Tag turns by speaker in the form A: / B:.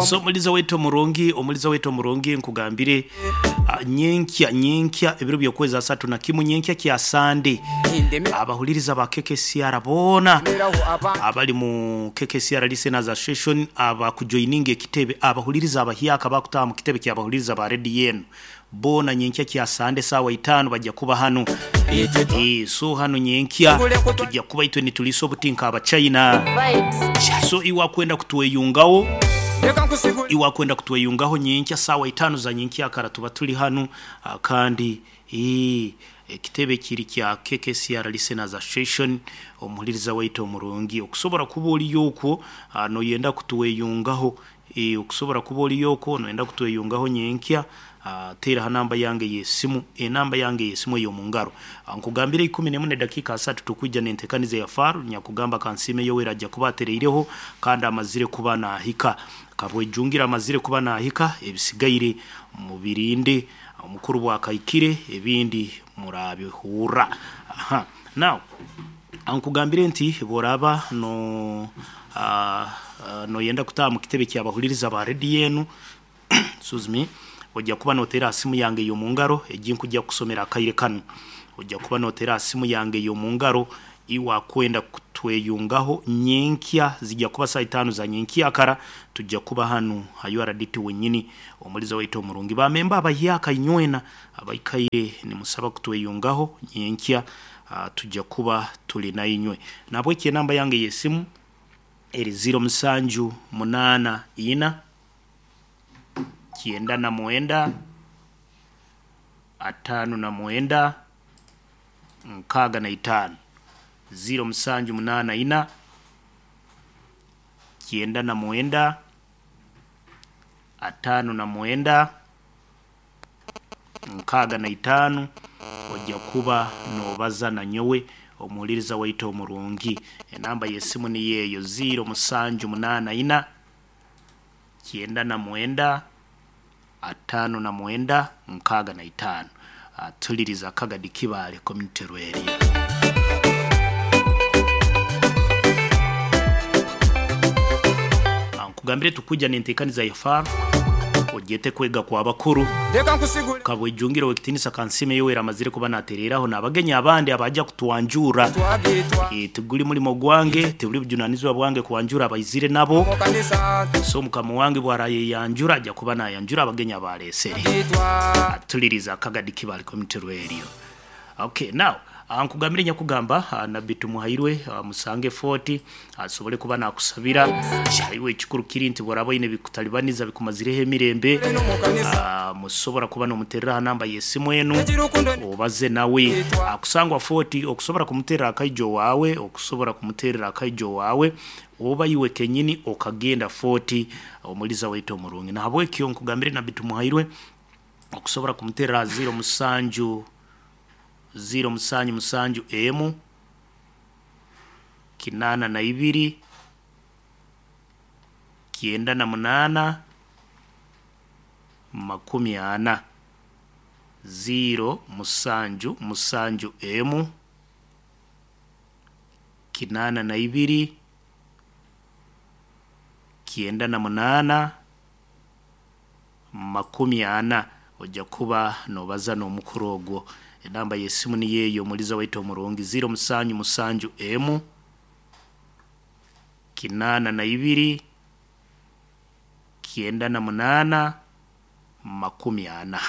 A: So omuliza waitu omurungi, omuliza waitu omurungi, nkugambire nyenkya nyenkya ebiro by'okwezi asatu na kimu, nyenkya kya Sande, abahuliriza ba KKCR boona abali mu KKCR Listeners Association abakujoininga ekitebe, abahuliriza abahyaka abakutaaha mu kitebe ky'abahuliriza ba rediyo enu boona nyenkya kya Sande saawa itaano bajja kuba hanu. So hanu nyenkya tujja kuba itwe nituliisa obuti nk'Abachina. So iwe akwenda kutweyungaho, iwe akwenda kutweyungaho nyenkya saawa itaano za nyenkyakara tuba tuli hanu kandi ekitebe kiri kya KKCR Listeners Association. Omuhuliriza waitu omurungi, okusobora kuba oliyo okwo noyenda kutweyungaho, Okusobora kuba oriyo okwo noyenda kutweyungaho nyenkya, teera ha namba yange ey'esimu, enamba yange ey'esimu ey'omu ngaro. Nkugambire ikumi n'emu n'edakiika asatu tukwija n'entekaniza eya Faro nyakugamba Kansiime Yoweri aja kuba atereireho kandi amazire kuba naahika. Kabwejungira amazire kuba naahika, ebisigaire mubirinde omukuru bwakahikire ebindi murabihurra. Aha. Now, nkugambire nti bw'oraaba no noyenda kutaaha mu kitebe ky'abahuliriza ba rediyo enu, excuse me, ojja kuba noteera ha simu yange ey'omu ngaro egi nkujja kukusomera akaire kanu. Ojja kuba noteera ha simu yange ey'omu ngaro iwe akwenda kutweyungaho nyenkya zijja kuba saaha itaano za nyenkyakara tujja kuba hanu ha URDT wenyini. Omuliza waitu omurungi, ba memba abahyaka inywena abaikaire nimusaba kutweyungaho nyenkya tujja kuba tuli nainywe. Nahabweki enamba yange ey'esimu eri ziro musanju munaana ina, kyenda na mwenda, ataano na mwenda, nkaaga na itaano. Ziro musanju munaana ina, kyenda na mwenda, ataano na mwenda, nkaaga na itaano. Ojja kuba noobaza na nyowe omuhuliriza waitu omurungi. Enamba y'esimu niyo eyo ziro musanju munaana ina, kyenda na mwenda, ataano na mwenda, nkaaga na itaano. Tuliriza Kagadi Kibaale Community Radio. Nkugambire tukwija n'enteekaniza ya Faro ogyete kwega kwa bakuru.
B: Leka nkusigule.
A: Kabwejungire ow'ekitiinisa Kansiime Yoweri amazire kuba natereeraho n'abagenyi abandi abaija kutwanjurra.
B: Twagitwa.
A: Tiguri murimo gwange, tiburi bujunanizibwa bwange kwanjura abaizire nabo.
B: Mu kanisa.
A: So mukama wange bwarayeyanjura aja kuba nayanjura abagenyi abaaleesere.
B: Twagitwa.
A: Atuliriza Kagadi Kibaale Community Radio. Okay, now nkugambire nyakugamba Nabbi Tumuhairwe musange Fort asobole kuba nakusabira. Iwe ekikuru kiri nti bworaba oine ebikutalibaniza bikumazireho emirembe,
B: Eno mu kanisa.
A: musobora kuba nomuterera ha namba y'esimu enu
B: Egi rukundo
A: obaze nawe.
B: Twagitwa.
A: Akusangwa Fort okusobora kumuterera akaijo waawe, okusobora kumuterera akaijo waawe oba iwe kenyini okagenda Fort omuliza waitu omurungi. Nahabwekyo nkugambire Nabbi Tumuhairwe okusobora kumuterera ha ziro musanju ziro musanju musanju emu kinaana na ibiri kyenda na munaana makumi ana. Ziro musanju musanju emu kinaana na ibiri kyenda na munaana makumi ana. Ojja kuba noobaza n'omukuru ogwo. Enamba y'esimu niyo eyo omuliza waitu omurungi ziro musanju musanju emu kinaana na ibiri kyenda na munaana makumi ana.